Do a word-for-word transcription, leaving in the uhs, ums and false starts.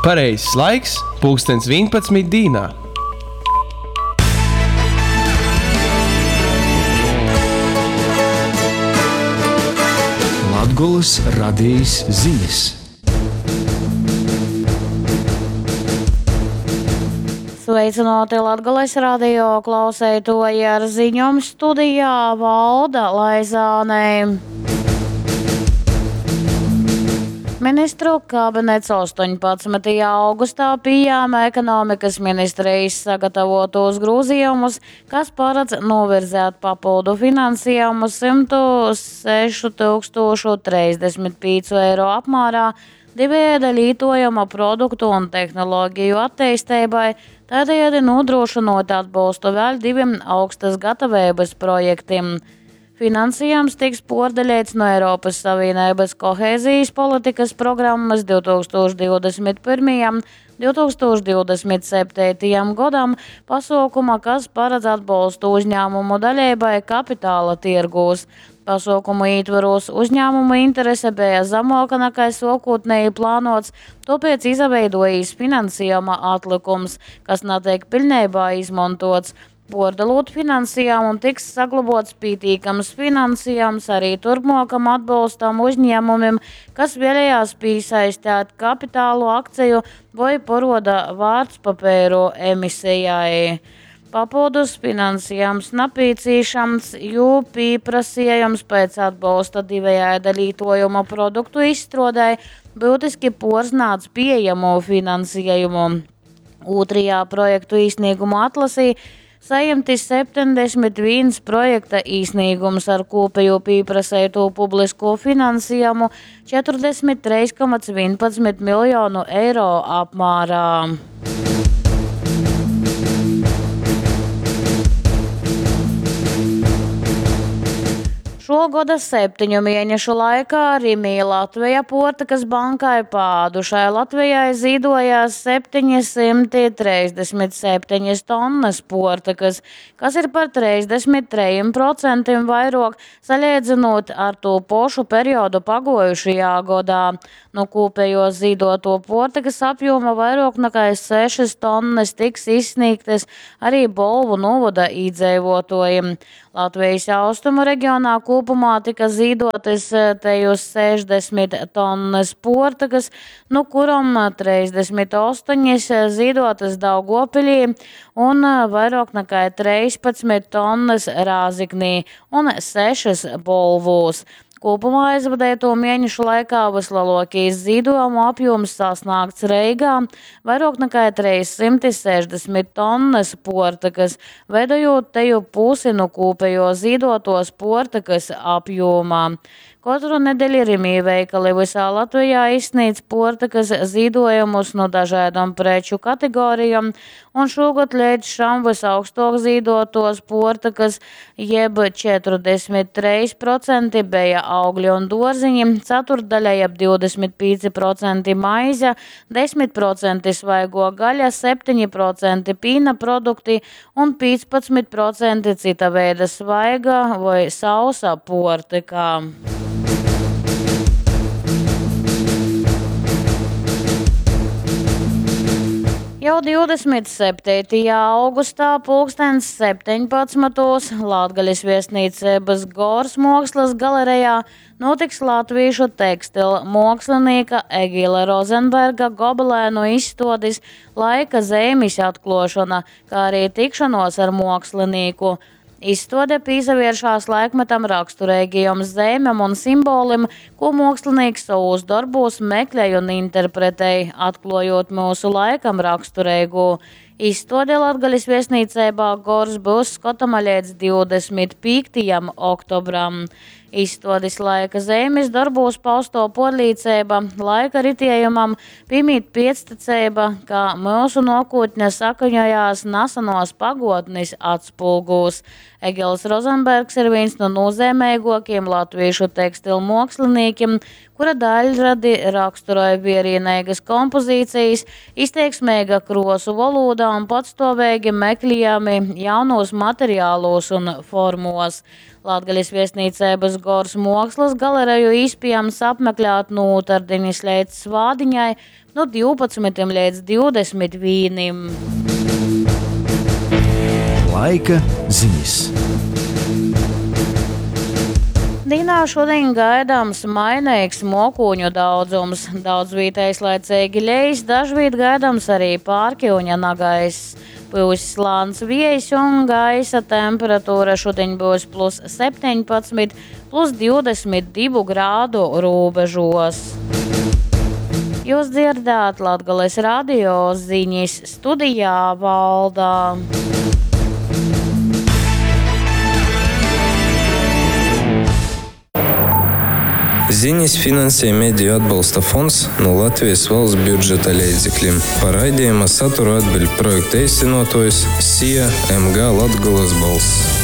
Pareizais laiks – pulkstens vīnpadsmit dīnā. Latgolys Radejis zinis. Sveicināti Latgales radio klauseitoji ar ziņom studijā Valda Laizāne. Ministru kabinets astoņpadsmitajā augustā pieņēma ekonomikas ministrijas sagatavotos grozījumus, kas paredz novirzēt papildu finansējumu simtu sešu tūkstošu trīsdesmit pīcu eiro apmērā divējāda lītojama produktu un tehnoloģiju attīstībai, tādējādi nodrošinot atbalstu vēl diviem augstas gatavības projektiem. Finansējums tiks pārdalīts no Eiropas Savienības kohēzijas politikas programmas divtūkstoš divdesmit pirmajam, divtūkstoš divdesmit septītajam gadam pasaukuma, kas paredz atbalstu uzņēmumu daļībai kapitāla tirgūs. Pasaukumu ietvaros uzņēmumu interese bija zemāka nekā sākotnēji plānots, tāpēc izveidojis finansējuma atlikums, kas netiek pilnībā izmantots. Pārdalot finansējumu tiks saglabots pītīkams finansējums arī turpmākam atbalstam uzņēmumiem, kas vēlējās piesaistīt kapitālu akciju vai paroda vārtspapīru emisijai. Papildus finansējums nepieciešams, jo pieprasījums pēc atbalsta divējāda lietojuma produktu izstrādē būtiski porznāc pieejamo finansējumu. Otrajā projektu īsniegumu atlasī saņemti septiņdesmit viens projekta īsniegums ar kopējo pieprasīto publisko finansējumu četrdesmit trīs komats vienpadsmit miljonu eiro apmērā. Šo gada septiņu mēnešu laikā Rimī Latvija Portikas bankai pādušai Latvijai zīdojās septiņi simti trīsdesmit septiņas tonnas portikas, kas ir par trīsdesmit trejiem procentiem vairāk salīdzinot ar to pošu periodu pagojušajā gadā. No kopējo zīdoto portikas apjoma vairāk nekā sešas tonnas tiks izsniegtas arī Bolvu novada iedzīvotājiem. Latvijas austrumu reģionā kopumā tika zīdotas teju sešdesmit tonnas portakas, no kuram trīsdesmit astoņas zīdotas Daugopilī un vairāk nekā trīspadsmit tonnas Rāziknī un sešas Bolvūs. Kopumā aizvadīto mēnešu laikā vislielākais zīdojumu apjoms sasniegts Reigā – vairāk nekā trīs simti sešdesmit tonnas portakas, veidojot teju pusi no kopējo zīdotos portakas apjomā. Katru nedēļu Rimī veikali visā Latvijā izsniedz portakas zīdojumus no dažādām preču kategorijām, un šogad līdz šam visaugstāk zīdotos portakas jeb četrdesmit trīs procenti bija augļi un dārziņi, ceturtdaļa jeb divdesmit pieci procenti maize, desmit procenti svaigo gaļa, septiņi procenti pīna produkti un piecpadsmit procenti cita veida svaiga vai sausa portika. Jau divdesmit septītajā augustā pulkstens septiņpadsmitos Latgales viesnīcības Gors mākslas galerijā notiks latviešu tekstila mākslinieka Egila Rozenberga gobelēnu izstādes Laika zīmes atklāšana, kā arī tikšanos ar mākslinieku. Izstāde pīsavēršās laikmetam raksturīgajam zīmēm un simbolim, ko mākslinieks savos darbos meklē un interpretē, atklājot mūsu laikam raksturīgo. Izstāde Latgales viesnīcībā Gors būs skatama līdz divdesmit piektajam oktobram. Izstādes laika zīmes darbos pausto porlīcība, laika ritējumam piemīt piectecība, ka mūsu nākotne sakaņojās nesenos pagotnes atspulgūs. Egils Rozenbergs ir viens no nozīmīgākajiem latviešu tekstilu māksliniekiem, kura daiļradi raksturoj vierīneigys kompozīcijas, izteiksmeiga kruosu volūda un patstuoveigi mekliejumi jaunūs materialūs un formuos. Latgales viestnīceibys Gors muokslys galereju īspiejams apmeklēt nu ūtardinis leidz svātdiņai nu divpadsmitim leidz divdesmit vīnim. Laika ziņas. Dīnā šodien gaidāms mainīgs mokūņu daudzums. Daudz vietējs laicīgi lejas, dažviet gaidāms arī pārkiuņa nagaiss. Pūs lāns viejs un gaisa temperatūra šodien būs plus septiņpadsmit, plus divdesmit divu grādu robežos. Jūs dzirdāt Latgales radio ziņas studijā Valdā. Ziņas finansē Mediju atbalsta fonds no Latvijas valsts budžeta līdzekļiem. Par raidījuma saturu atbild projekta īstenotājs S I A M G Latgolas balss.